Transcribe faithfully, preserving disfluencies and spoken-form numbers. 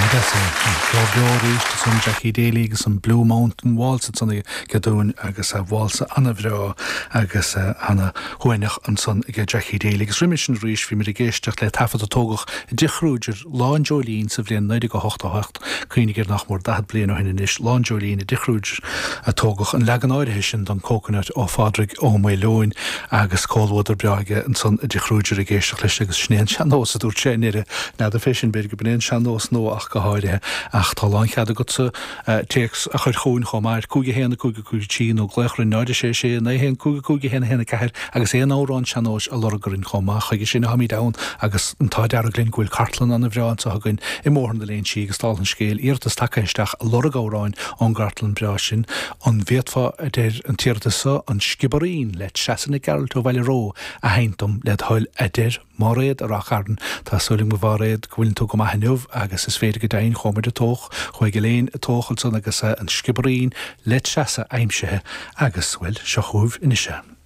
Beo san Jackie Daly agus an Blue Mountain Waltz ansan aige dúinn agus a válsa an-bhreá agus ana-shuaimhneach ansan ag Jackie Daly agus roimhe sin arís bhí muid ag éisteacht le taifead a tógadh i dTigh Kruger Lá an Dreoilín sa bhliain naoi déag a hocht a hocht cuimhnigh air nach mór daichead bliain ó shin anois Lá an Dreoilín i dTigh Kruger a tógadh an leagan áirithe sin don Coconut ó Phádraig Ó Maoileoin agus comhluadar breá aige ansan i dTigh Kruger ag éisteacht leis agus sin é an sean-nós a dúirt sé i ndeireadh n'fheadar fé sin b'fhéidir go b'in é an sean-nós nua ach go háirithe ach tá lánchead agatsa téacs a chur chugainn chomh maith cúig a haon a cúig a cúig trí nó glaoch ar náid a sé sé naoi haon cúig a cúig a haon a haon a ceathair agus aon amhrán sean-nóis a lorg orainn chomh maith chuige sin atáimid ann agus an t-ádh dearg linn go bhfuil cartlann an-bhreá anseo againn i mBóthar na Léinsí agus dála an scéil iarratas tagtha isteach a lorg amhráin ón gcartlann breá sin an bhféadfá a deir an t-iarratas seo an Sciobairín le Treasa Nic Gearailt ó Bhaile Ró a sheinnt dom led thoil a deir Máiréad i Ráth Chairn Tá súil agam a Mháiréad go bhfuil tú go maith inniu agus is féidir go deimhin chuaigh muid i dtóch chuaigh Elaine i dtóch ansan agus an Sciobairín le Treasa aimsithe agus bhuel seo chugaibh anois é.